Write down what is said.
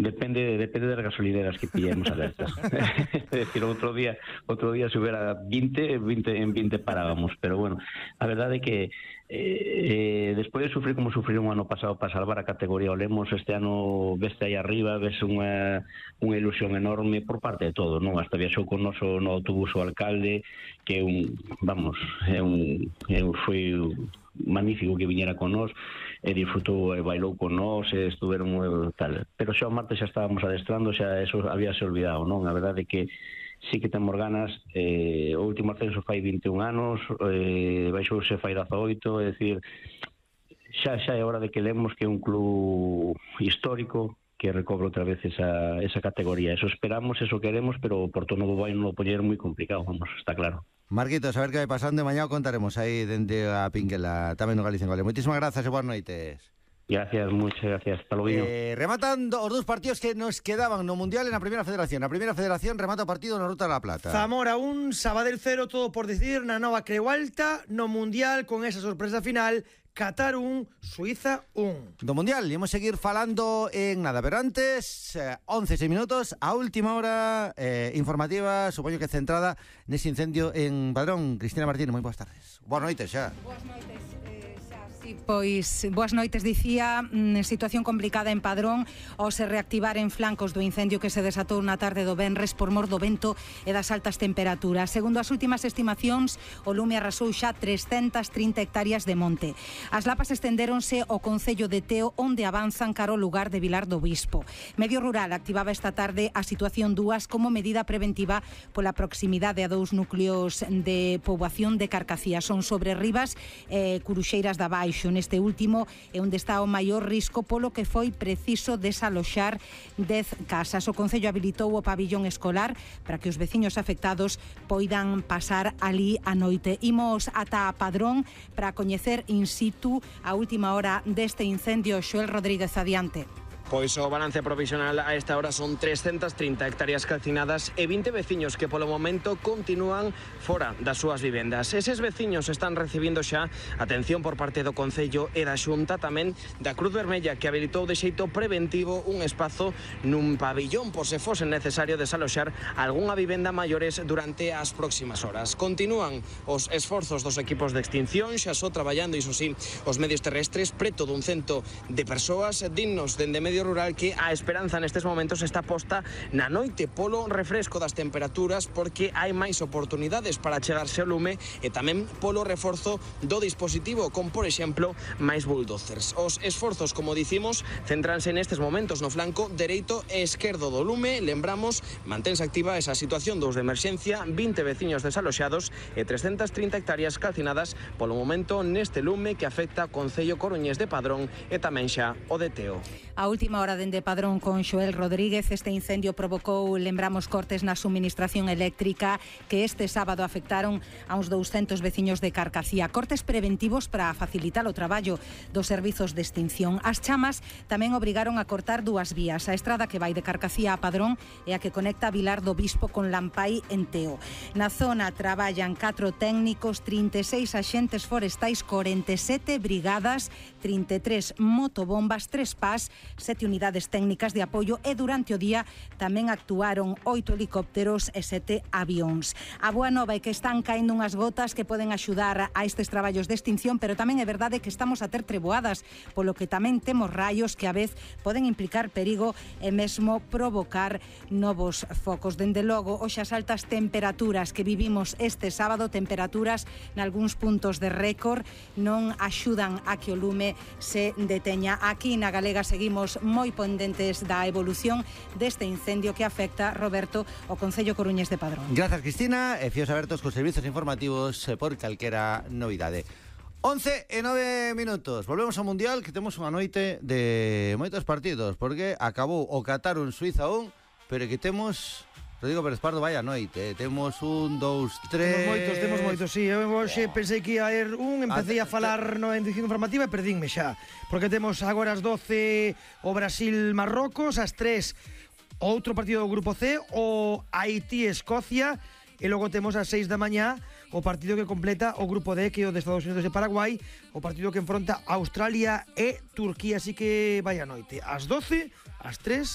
Depende das gasolineras que pillemos alertas. É dicir, outro día se hubiera 20 parábamos, pero bueno, a verdade é que despois de sufrir como sufriron o ano pasado para salvar a categoría o Lemos, este ano veste aí arriba, ves unha ilusión enorme por parte de todo, non? Hasta viaxou con noso no autobús o alcalde, que foi magnífico que viñera con nós, e disfrutou e bailou con nós, e estuveron tal, pero xa o martes xa estábamos adestrando, xa eso habíase olvidado, non? A verdade é que sí que temos ganas. O último ascenso fai 21 anos, baixouse fai 18, é dicir, xa é hora de que Lemos, que é un club histórico, que recobre outra vez esa categoría. Eso esperamos, eso queremos, pero por todo novo vai non o poñer moi complicado, vamos, está claro. Marquitos, a ver que vai pasando, mañá o contaremos aí dende a Pinguela, tamén no Galicia en Gole. Moitísimas grazas e boas noites. Gracias, muchas gracias, hasta luego. Rematando os dous partidos que nos quedaban no Mundial en a Primeira Federación. A Primeira Federación remata o partido na Ruta da Plata. Zamora 1, Sabadell 0, todo por decidir na nova Creu Alta. No Mundial, con esa sorpresa final, Qatar 1, Suiza 1. Do Mundial, imos seguir falando en nada, pero antes, 11 minutos, a última hora informativa, supoño que centrada nese incendio en Padrón. Cristina Martínez, moi boas tardes. Boas noites xa. Boas noites. Pois, boas noites, dicía, situación complicada en Padrón ao se reactivar en flancos do incendio que se desatou na tarde do venres por mor do vento e das altas temperaturas. Segundo as últimas estimacións, o lume arrasou xa 330 hectáreas de monte. As lapas estendéronse ao concello de Teo, onde avanzan cara ao lugar de Vilar do Bispo. Medio Rural activaba esta tarde a situación 2 como medida preventiva pola proximidade a dous núcleos de poboación de Carcacía. Son sobre Rivas e Curuxeiras da Baixo. Neste último é onde está o maior risco, polo que foi preciso desaloxar 10 casas. O Concello habilitou o pabillón escolar para que os veciños afectados poidan pasar ali a noite. Imos ata a Padrón para coñecer in situ a última hora deste incendio. Xoel Rodríguez, adiante. Pois o balance provisional a esta hora son 330 hectáreas calcinadas e 20 veciños que polo momento continúan fora das súas vivendas. Eses veciños están recibindo xa atención por parte do Concello e da Xunta, tamén da Cruz Vermella, que habilitou de xeito preventivo un espazo nun pabillón por se fose necesario desaloxar algunha vivenda maiores durante as próximas horas. Continúan os esforzos dos equipos de extinción, xa só traballando, iso sí, os medios terrestres, preto dun cento de persoas dignos dende medio rural, que a esperanza nestes momentos está posta na noite polo refresco das temperaturas, porque hai máis oportunidades para chegarse ao lume e tamén polo reforzo do dispositivo, con, por exemplo, máis bulldozers. Os esforzos, como dicimos, centranse nestes momentos no flanco dereito e esquerdo do lume. Lembramos, mantense activa esa situación 2 de emerxencia, 20 veciños desaloxados e 330 hectáreas calcinadas polo momento neste lume que afecta o Concello coruñés de Padrón e tamén xa o de Teo. A última hora dende Padrón con Xoel Rodríguez. Este incendio provocou, lembramos, cortes na suministración eléctrica que este sábado afectaron a uns 200 veciños de Carcacía. Cortes preventivos para facilitar o traballo dos servizos de extinción. As chamas tamén obrigaron a cortar 2 vías. A estrada que vai de Carcacía a Padrón e a que conecta Vilar do Bispo con Lampai en Teo. Na zona traballan 4 técnicos, 36 axentes forestais, 47 brigadas, 33 motobombas, 3 PAS, 7 unidades técnicas de apoio e durante o día tamén actuaron 8 helicópteros e 7 avións. A boa nova é que están caendo unhas gotas que poden axudar a estes traballos de extinción, pero tamén é verdade que estamos a ter treboadas, polo que tamén temos raios que a vez poden implicar perigo e mesmo provocar novos focos. Dende logo, hoxe as altas temperaturas que vivimos este sábado, temperaturas nalgúns puntos de récord, non axudan a que o lume se deteña. Aquí na Galega seguimos moi pendentes da evolución deste incendio que afecta, Roberto, o Concello coruñés de Padrón. Grazas, Cristina, e fíos abertos cos servizos informativos por calquera novidade. 11 e 9 minutos. Volvemos ao Mundial, que temos unha noite de moitos partidos, porque acabou o Qatar 1, Suiza 1, pero que temos... Rodrigo Pérez Pardo, vaya noite, temos 1, 2, 3... Temos moitos, sí. Eu hoxe pensei que ia ir empecé a falar na edición informativa e perdínme xa. Porque temos agora as 12 o Brasil-Marrocos, as 3 outro partido do Grupo C, o Haití-Escocia, e logo temos ás 6 da mañá o partido que completa o Grupo D, que é o de Estados Unidos e Paraguai, o partido que enfronta Australia e Turquía. Así que vaya noite, ás 12, ás 3